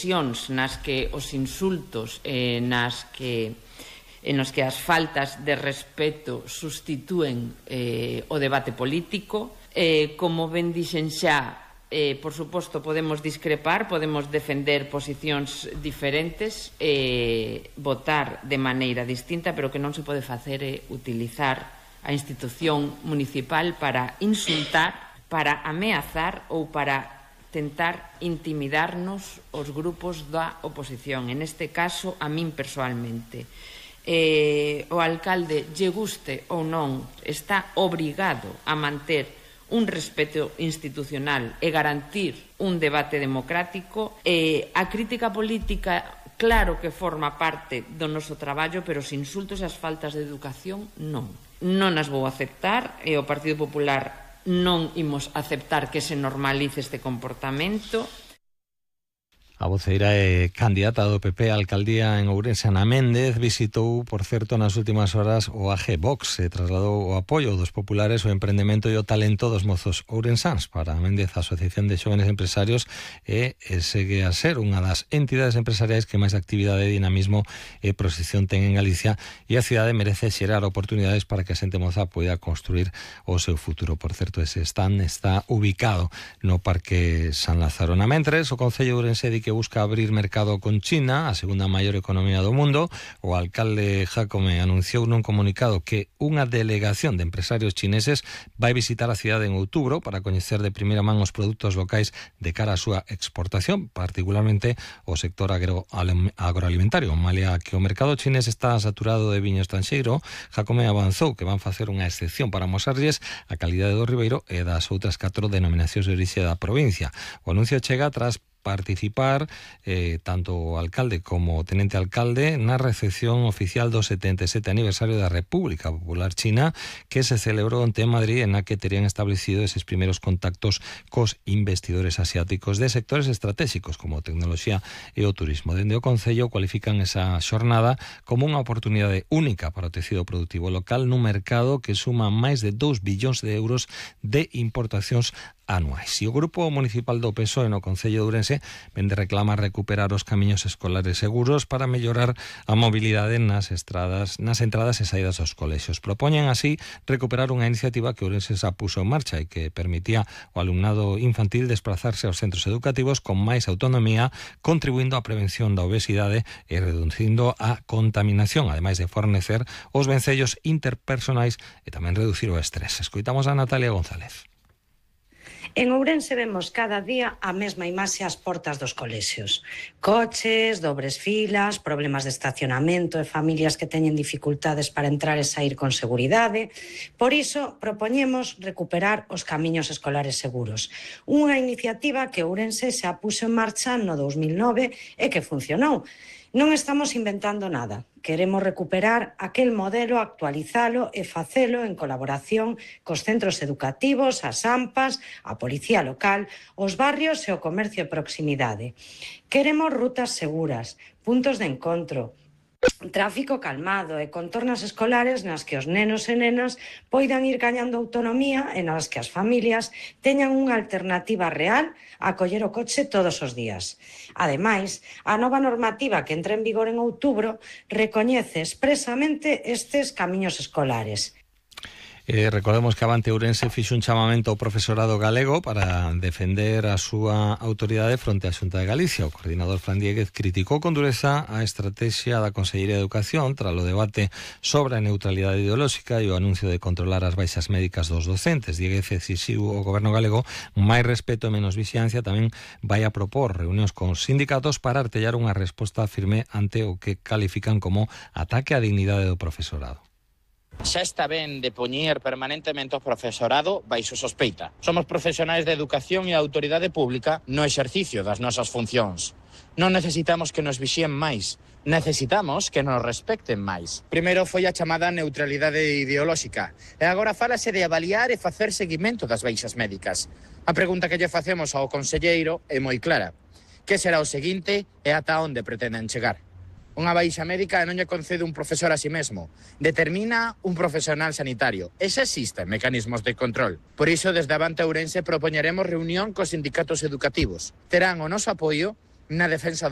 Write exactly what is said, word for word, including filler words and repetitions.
expresións nas que os insultos, eh, nas que en os que as faltas de respeto sustitúen eh, o debate político. Eh, como ben dixen xa, eh, por suposto, podemos discrepar, podemos defender posicións diferentes, eh, votar de maneira distinta, pero que non se pode facer é utilizar a institución municipal para insultar, para ameazar ou para tentar intimidarnos os grupos da oposición. En este caso, a min persoalmente. Eh, o alcalde, lle guste ou non, está obrigado a manter un respeto institucional e garantir un debate democrático. Eh, a crítica política, claro que forma parte do noso traballo, pero os insultos e as faltas de educación non. Non as vou aceptar, e o Partido Popular non imos aceptar que se normalice este comportamento. A voceira e candidata do P P á alcaldía en Ourense, Ana Méndez, visitou, por certo, nas últimas horas o A G Vox e trasladou o apoio dos populares, o emprendemento e o talento dos mozos ourensáns. Para Méndez, a Asociación de Xóvenes Empresarios e, e segue a ser unha das entidades empresariais que máis actividade, dinamismo e proxección ten en Galicia, e a cidade merece xerar oportunidades para que a xente moza poida construir o seu futuro. Por certo, ese stand está ubicado no Parque San Lázaro. Na mentres, o Concello de Ourense di que busca abrir mercado con China, a segunda maior economía do mundo. O alcalde Jácome anunciou nun comunicado que unha delegación de empresarios chineses vai visitar a cidade en outubro para coñecer de primeira man os produtos locais de cara á súa exportación, particularmente o sector agro agroalimentario. Malia que o mercado chinés está saturado de viño estranxeiro, Jácome avanzou que van facer unha excepción para mosarlles a calidade do ribeiro e das outras catro denominacións de orixe da provincia. O anuncio chega tras participar eh, tanto o alcalde como o tenente alcalde na recepción oficial do setenta e sete aniversario da República Popular China, que se celebrou onte en Madrid, en a que terían establecido eses primeiros contactos cos investidores asiáticos de sectores estratégicos como a tecnoloxía e o turismo. Dende o Concello cualifican esa xornada como unha oportunidade única para o tecido productivo local nun mercado que suma máis de dous billóns de euros de importacións anuais. E o Grupo Municipal do P S O E no Concello de Ourense vende reclamar recuperar os camiños escolares seguros para mellorar a mobilidade nas estradas, nas entradas e saídas dos colexios. Propoñen así recuperar unha iniciativa que Ourense xa puso en marcha e que permitía ao alumnado infantil desplazarse aos centros educativos con máis autonomía, contribuindo á prevención da obesidade e reducindo a contaminación, ademais de fornecer os vencellos interpersonais e tamén reducir o estrés. Escoitamos a Natalia González. En Ourense vemos cada día a mesma imaxe ás portas dos colexios. Coches, dobres filas, problemas de estacionamento e familias que teñen dificultades para entrar e sair con seguridade. Por iso, propoñemos recuperar os camiños escolares seguros. Unha iniciativa que Ourense xa puxo en marcha no dous mil nove e que funcionou. Non estamos inventando nada. Queremos recuperar aquel modelo, actualizalo e facelo en colaboración cos centros educativos, as AMPAs, a Policía Local, os barrios e o comercio de proximidade. Queremos rutas seguras, puntos de encontro, tráfico calmado e contornas escolares nas que os nenos e nenas poidan ir gañando autonomía e nas que as familias teñan unha alternativa real a coller o coche todos os días. Ademais, a nova normativa que entra en vigor en outubro recoñece expresamente estes camiños escolares. Eh, recordemos que Avante Ourense fixo un chamamento ao profesorado galego para defender a súa autoridade fronte á Xunta de Galicia. O coordinador Fran Diéguez criticou con dureza a estrategia da Consellería de Educación tras o debate sobre a neutralidade ideolóxica e o anuncio de controlar as baixas médicas dos docentes. Diéguez exixiu ao goberno galego máis respeto e menos vixilancia. Tamén vai a propor reunións con sindicatos para artellar unha resposta firme ante o que califican como ataque á dignidade do profesorado. Xa está ben de poñer permanentemente o profesorado baixo sospeita. Somos profesionais de educación e a autoridade pública no exercicio das nosas funcións. Non necesitamos que nos vixíen máis, necesitamos que nos respecten máis. Primeiro foi a chamada neutralidade ideolóxica e agora fálase de avaliar e facer seguimento das baixas médicas. A pregunta que lle facemos ao conselleiro é moi clara. Que será o seguinte e ata onde pretenden chegar? Unha baixa médica non lle concede un profesor a si mesmo, determina un profesional sanitario. E xa existen mecanismos de control. Por iso, desde Avante Ourense propoñeremos reunión cos sindicatos educativos. Terán o noso apoio na defensa